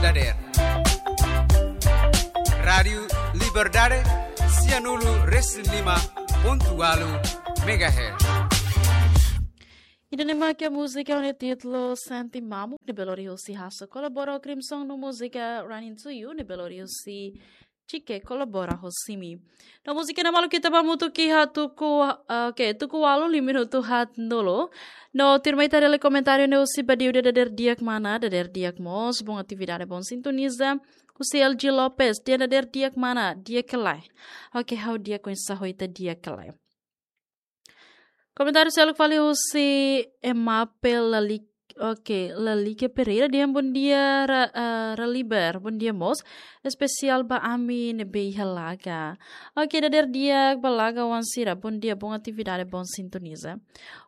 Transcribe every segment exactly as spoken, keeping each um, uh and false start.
dadeer. Rádiu Liberdade, sianulu resin lima pontu walu megahertz. Ida-ne'e mak múzika ho títulu Sente Mamuk, ne'ebé lori husi Hasso kolabora ho Crimson, no múzika Running to You, ne'ebé lori husi Chike kolabora ho Simi. No múzika ne'e malu ita ba hamutuk iha tuku, ah, oke, tuku ualu, lima minutu haat nulu. No tuirmai ita haree komentáriu ne'e husi Badiu, dadeer di'ak mana, dadeer di'ak mós, bom atividade, bom sintoniza. Husi L G Lopes, di'ak dadeer di'ak mana, di'ak ka lae. Oke, ha'u di'ak, oinsá ho ita, di'ak ka lae. Komentáriu seluk fali husi Emape Lalik, oke, Lalike Pereira, dehan bom dia, Ra-, eh, Raliber, bom dia mós, espesiál ba ami ne'ebé iha Laga. Oke, dadeer di'ak ba Laga oan sira, bom dia, bom atividade, bom sintoniza.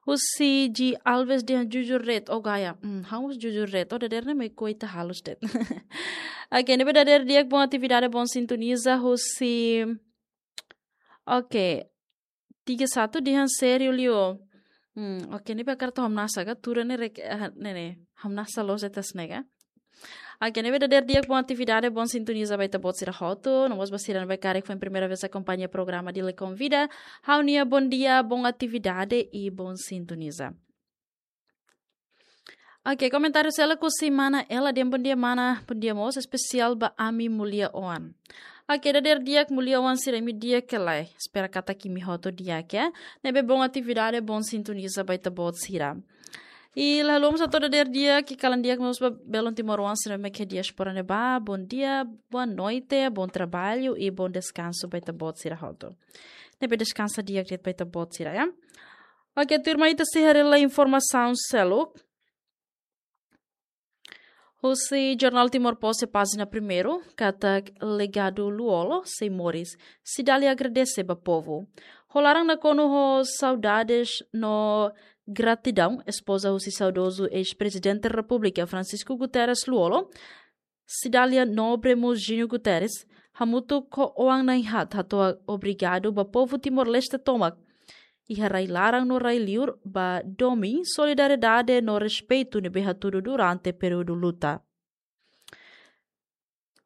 Husi G Alves, dehan jujur de'it, o gaya. Hmm, ha'u mós jujur de'it, o dadeer ne'e mai koita halus de'it. Oke, ne'ebé dadeer di'ak, bom atividade, bom sintoniza, husi, oke, tiga satu, dehan sériu liu. Hmm, oke, ne'ebé hakarak atu hamnasa ka, tuur ne'e rek-, ah, ne'e ne'e, hamnasa loos de'it hanesan ne'e ka. Oke, ne'ebé dadeer di'ak, bom atividade, bom sintoniza ba ita-boot sira hotu, no mós ba sira ne'ebé karik foin primeira vez akompaña programa Dili Konvida, ha'u-nia bom dia, bom atividade i bom sintoniza. Oke, komentáriu seluk husi mana Ela, dehan bom dia mana, bom dia mós, espesiál ba ami Mulia Oan. Oke, dadeer di'ak Mulia Oan sira, imi di'ak ka lae, espera katak imi hotu di'ak, ya. Ne'ebé bom atividade, bom sintoniza ba ita-boot sira. I la haluha mós hato'o dadeer di'ak, i kalan di'ak mós ba belun timoroan sira mak iha diáspora ne'ebá, bom dia, boa noite, bom trabalho i bom descanso ba ita-boot sira hotu. Ne'ebé deskansa di'ak de'it ba ita-boot sira, ya. Oke, tuirmai ita sei haree informasaun seluk. Husi Jornál Timor Post, pájina primeiru, katak legadu Lú-Olo sei moris, Cidália agradese ba povu. Ho laran nakonu ho saudades no gratidaun, espoza husi saudozu eis-Prezidente Repúblika Francisco Guterres Lú-Olo, Cidália Nobre mós Júnior Guterres, hamutuk ho oan na'in-haat hato'o obrigadu ba povu Timor-Leste tomak, iha rai-laran no rai-liur, ba domin, solidariedade no respeitu ne'ebé hatudu durante períodu luta.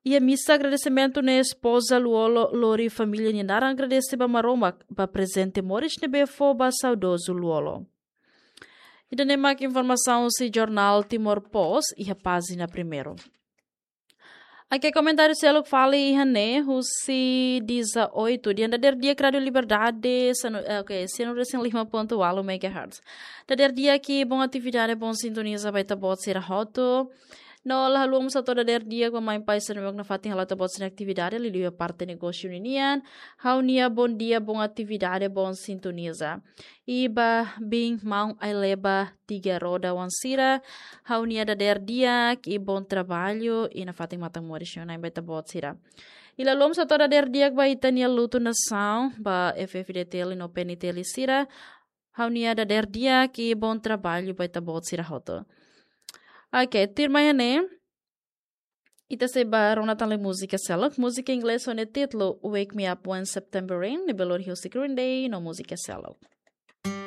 Iha misa agradesimentu ne'e espoza Lú-Olo lori família nia naran agradese ba Maromak, ba prezente moris ne'ebé fó ba saudozu Lú-Olo. Ida-ne'e mak informasaun husi Jornál Timor Post, iha pájina primeiru. Oke, komentáriu seluk fali iha ne'e, husi Diza oitu, dehan dadeer di'ak Rádiu Liberdade, sianu-, eh, oke, sianulu resin lima pontu walu megahertz. Dadeer di'ak i bom atividade, bom sintoniza ba ita-boot sira hotu. No la haluha mós hato'o dadeer di'ak ba mãe pai sira ne'ebé nafatin hala'o ita-boot sira-nia atividade, liuliu iha parte negósiu ninian. Ha'u-nia bom dia, bom atividade, bom sintoniza. I ba biin maun ai-leba tiga roda oan sira, ha'u-nia dadeer di'ak i bom trabalho, i nafatin matan moris nia oan-na'in ba ita-boot sira. I la haluha mós hato'o dadeer di'ak ba ita-nia lutu nasaun, ba F F D T L no P N T L sira, ha'u-nia dadeer di'ak i bom trabalho ba ita-boot sira hotu. Oke, tuirmai iha ne'e, ita sei ba rona tan lai múzika seluk, múzika inglés ho nia títulu Wake Me Up When September Rain, ne'ebé lori husi Green Day, no múzika seluk.